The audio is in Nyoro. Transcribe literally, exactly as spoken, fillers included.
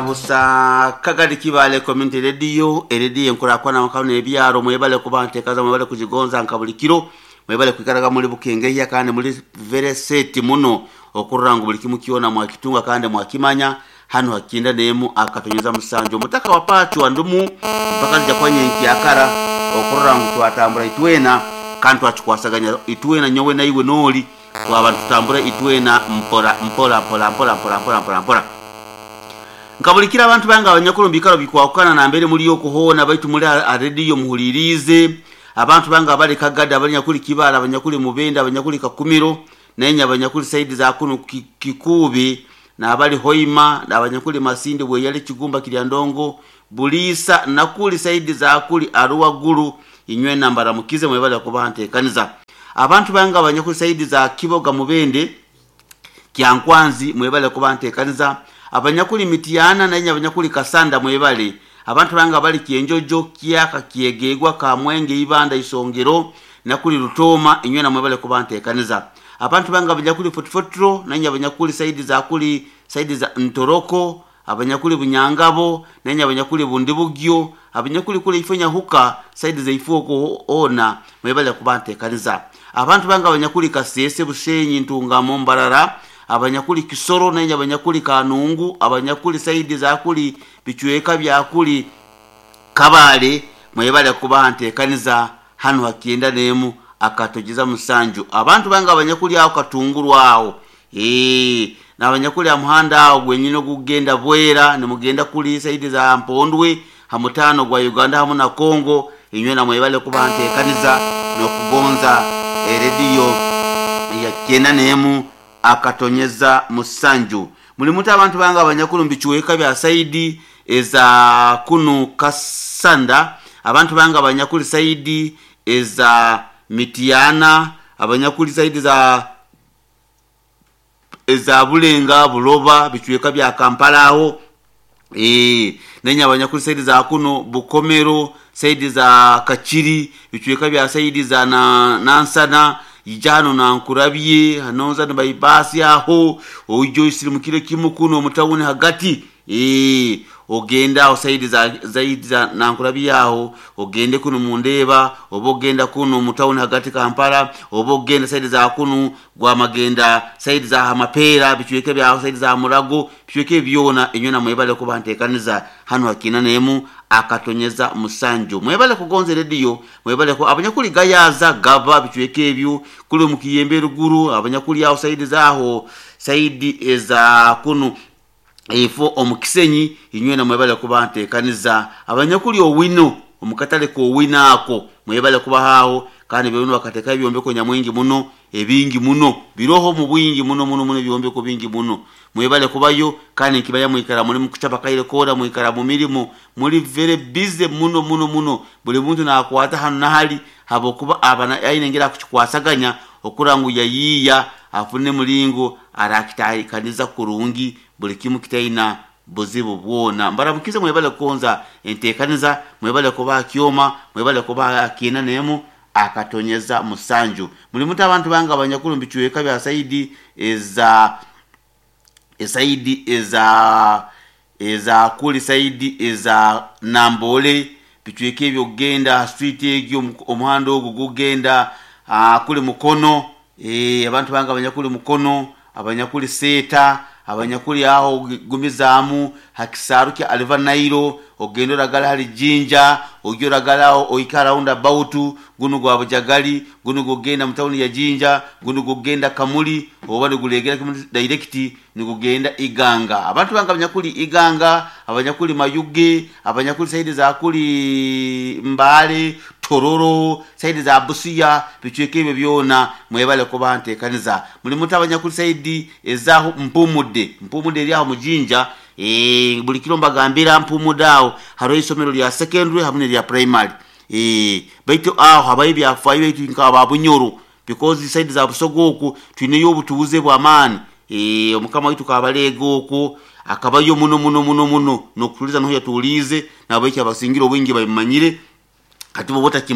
Busa Kagadi Kibale Community Radio, erediyo enkurakwana makano ebyaro. Mwebale kuba ntekaza, mwebale kujigonza nka buli kiro, mwebale kwikaraga muri bukengeya kandi muri very set muno okurora ngu buli kimu kyona mwakitunga kandi mwakimanya. Hano hakinda nemu akatonyeza musanju omutaka wa pachu wa ndumu mpaka nja kwa nyenki akara okurora ngu twatambura itwena kandi twakikwasaganya itwena, nyowe naiwe noli twaba tutambura itwena mpora mpora mpora mpora mpora mpora mpora mpora. Nkabulikira abantu bange abanyakuru mbikaro bikwakukana nambere muri okuhoona baitu muri arediyo muhulirize. Abantu bange abali Kagada, abanyakuli Kibala, abanyakuli Mubende, abanyakuli Kakumiro, nenya abanyakuli saidi za kuno Kikubi nabali Hoima, nabanyakuli Masindi, Bweyale, Kigumba, Kiryandongo, Bulisa nakuli saidi za kuli Arua Gulu, inywe nambara mukize mwebale kuba ntekaniza. Abantu bange abanyakuli saidi za Kiboga, Mubende, Kyankwanzi, mwebale kuba ntekaniza. Abanyakuli Mitiyana nenya abanyakuli Kasanda, mwebale. Abantu bange abali Kyenjojo, Kyaka, Kyegegwa, Kamwenge, Ibanda, Isongero nakuli Rutoma, inywe na mwebale kuba ntekaniza. Abantu bange abanyakuli Fotfotro nenya abanyakuli saidi za kuli saidi za Ntoroko, abanyakuli Bunyangabo nenya abanyakuli Bundibugyo, abanyakuli kule ifenya huka saidi za ifuoko ona, mwebale kuba ntekaniza. Abantu bange abanyakuli Kasese, Bushenyi, Ntungamo, Mbarara, abanyakuli Kisoro nenya abanyakuli Kanungu, abanyakuli saidi za kuli bichweka bya kuli Kabale, mwebale kuba ntekaniza. Hano hakienda nemu akatogeza musanju. Abantu bange abanyakuli aho Katunguru aho eh nabanyakuli amuhanda aho gwenyine gugenda Bwera nimugenda kuli saidi za Mpondwe hamutano gwa Uganda hamu na Kongo, inywe na mwebale kuba ntekaniza nokugonza erediyo ya kienda nemu akatonyeza musanju. Mulimuta abantu bange abanyakulu mbichweka bya saidi eza kunu Kasanda, abantu bange abanyakuli saidi eza Mitiyana, abanyakuli saidi za eza Bulenga, Buloba, bichweka bya Kampala aho eh nenya abanyakuli saidi za kuno Bukomero, saidi za Kachiri, bichweka bya saidi za na, Nansana ijano na nkurabye hanonza na bypass aho ojo isirimukire kimu kuno mutawuni hagati eh ogenda aho saidi za zaidi za nankurabye aho ogende kuno mundeba oba ogenda kuno mutawuni hagati Kampala oba ogenda saidi za kuno gwa magenda saidi za Hamapera bichweke bya saidi za Murago bichweke byona inywe na mwebale kuba ntekaniza. Hano hakina nemu akatonyeza musanju. Mwebale kugonze radio, mwebale ko abanyakuli gayaza gava bichweke ebyo kuli mukiyembe ruguru, abanyakuli aho saidi zaho saidi eza kuno ifo omukisenyi, inywe na mwebale kuba ntekaniza. Abanyakuli owino omukatale ko owino ako mwebale kuba haho kandi byono bakateka ebyombeko nyamwingi muno ebingi muno biroho mu bwingi muno muno muno ebyombeko bingi muno mwebale kubayo kandi nkibaya mwikara muri mukuchapa kaire kora mwikara mu mirimo muri very busy muno muno muno buli muntu nakwata hano nahali habokuba abana ayinengera kukikwasaganya okurangu yayiya afune mulingo arakitayikaniza kurungi buli kimu kitaina buzibu bwona. Mbaramukize mwebale konza entekaniza, mwebale kuba kyoma, mwebale kuba kina nemu akatonyeza musanju. Mulimuta abantu bange abanyakulu mbichweka bya saidi eza esaidi eza eza kuli saidi eza Nambole bichweke ebyo genda street egyo omuhanda ogwo gugenda kuli Mukono eh abantu bange abanyakuli Mukono, abanyakuli Seta, abanyakuli aho gumizaamu hakisaru kya Aliva Nairo ogendo ragala hali Jinja ogyo ragala oikara round about guno gwa Bujagali guno gugenda mutawuni ya Jinja guno gugenda Kamuli oba gulegera kimu direct nigugenda Iganga. Abantu bange abanyakuli Iganga, abanyakuli Mayuge, abanyakuli saidi za kuli Mbale, Tororo, saidi za Busia, bichweke ebyo byona mwebale kuba ntekaniza. Mulimuta abanyakuli saidi ezaho Mpumude, Mpumude eri aho mujinja eh buli kiro mbagambira Mpumude aho haro isomero lya secondary hamwe lya primary eh baitu aho habaye byafayo baitu nka babunyoro because saidi za Busogo oku twineyo obutuuze bw'amaani eh omukama witu kabalego oku akabayo muno muno muno muno nokutuliza noho yatulize nabaiki abasingira obwingi babimanyire kati bo botakima.